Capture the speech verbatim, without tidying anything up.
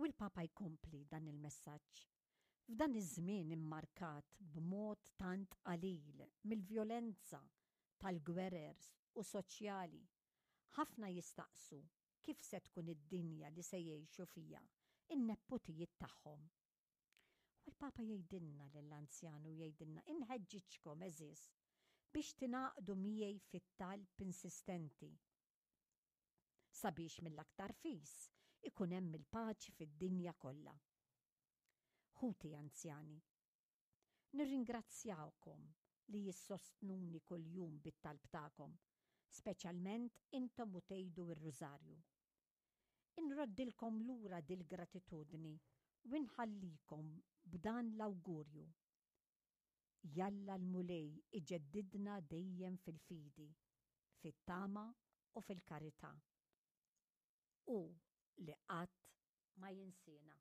U l-Papa jkompli dan il-messaġġ. F'dan iż-żmien immarkat b'mod tant qalil mill-vjolenza tal-gwerer u soċjali, ħafna jistaqsu kif se tkun id-dinja li se jgħixu fiha in-neputijiet tagħhom. U l-Papa jgħidilna lill-anzjani u jgħidilna inħeġġiġkom għeżież biex tingħaqdu miegħi fit-talb insistenti sabiex mill-aktar fis ikun hemm il-paċi fid-dinja kollha. Ħuti anzjani, nirringrazzjawkom li issostnuni kuljum bit-talb tagħkom, speċjalment intom u tgħidu r-rużarju. Inroddilkom lura dil-gratitudni u nħallikom b'dan l-awgurju. Jalla l-Mulej iġeddidna dejjem fil-fidi, fit-tama u fil-karità. U li qatt ma jinsina.